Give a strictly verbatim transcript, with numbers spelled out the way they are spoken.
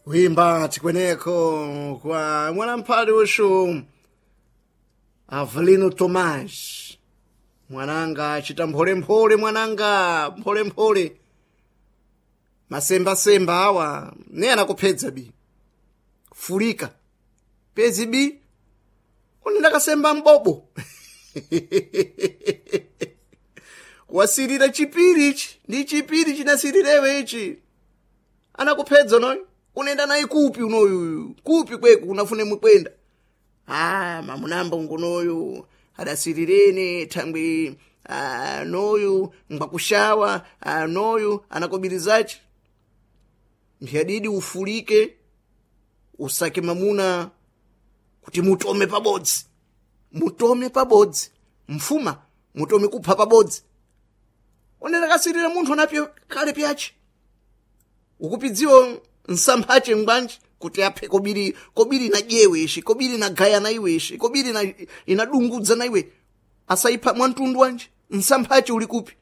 Kuimba tikweneko kwa mwanamphali uxu Avelino Tomás. Mwananga achita mpholemphole, mwananga mpholemphole, masembasemba awa ne anakuphedza bi fulika pezi bi unendakasemba mbobo wasirira chipiri ichi ndi chipiri chinasirirewe ichi anakuphedza unoyu unenda naye kupi unoyu kupi kweku unafune mukwenda. Ah, mamunamba ungunoyu adasirirene thangwi, ah, noyu ngwakushawa, ah, noyu anakobirizachi mphiyadidi ufulike usake mamuna kuti mutome pabodzi, mutome pabodzi mfuma mutome kupha pabodzi. Onera kasirira munthu anapyo kale pyache ukupidziwa nsamphache ngwanji kuti aphe kobiri, kobiri inadyewe ishi, kobiri inagaya na iwe ishi, kobiri ina, inadungudza na iwe asayipha mwamtundu wanji nsamphache uli kupi?